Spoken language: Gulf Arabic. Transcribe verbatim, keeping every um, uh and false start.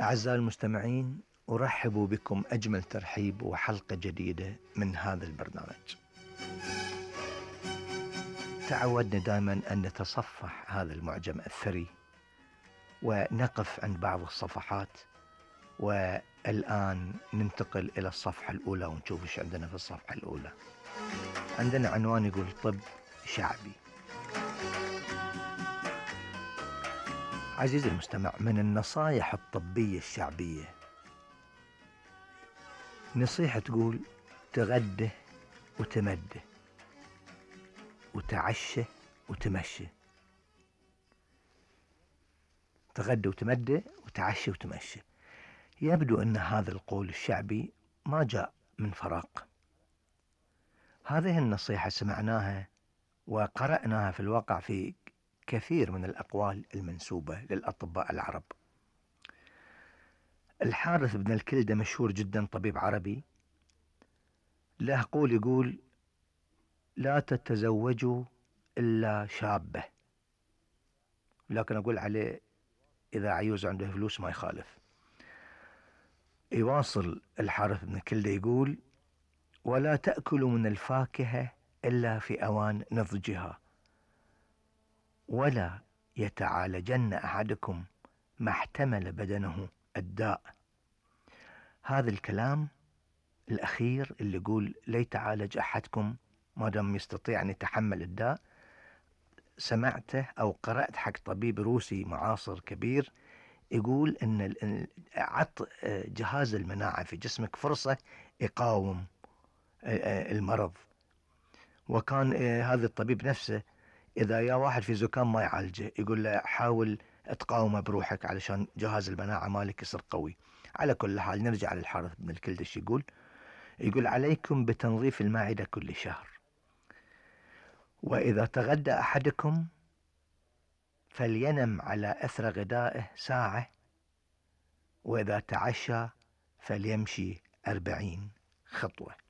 أعزائي المستمعين، أرحب بكم أجمل ترحيب وحلقة جديدة من هذا البرنامج. تعودنا دائما أن نتصفح هذا المعجم الثري ونقف عند بعض الصفحات، والآن ننتقل إلى الصفحة الأولى ونشوف إيش عندنا في الصفحة الأولى. عندنا عنوان يقول طب شعبي. عزيزي المستمع، من النصائح الطبية الشعبية نصيحة تقول تغده وتمده وتعشى وتمشى. تغده وتمده وتعشى وتمشى. يبدو أن هذا القول الشعبي ما جاء من فراغ. هذه النصيحة سمعناها وقرأناها في الواقع في كثير من الأقوال المنسوبة للأطباء العرب. الحارث بن الكلدة مشهور جدا، طبيب عربي، له قول يقول لا تتزوجوا إلا شابة، لكن أقول عليه إذا عيوز عنده فلوس ما يخالف. يواصل الحارث بن الكلدة يقول ولا تأكلوا من الفاكهة إلا في أوان نضجها، ولا يتعالجن أحدكم ما احتمل بدنه الداء. هذا الكلام الأخير اللي يقول لا يتعالج أحدكم ما دام يستطيع أن يتحمل الداء، سمعته أو قرأت حق طبيب روسي معاصر كبير يقول أن عط جهاز المناعة في جسمك فرصة يقاوم المرض. وكان هذا الطبيب نفسه إذا يا واحد في زكام ما يعالجه، يقول له حاول تقاومه بروحك علشان جهاز المناعة مالك يصير قوي. على كل حال نرجع للحارث بن الكلدة. يقول يقول عليكم بتنظيف المعدة كل شهر، وإذا تغدى أحدكم فلينم على أثر غدائه ساعة، وإذا تعشى فليمشي أربعين خطوة.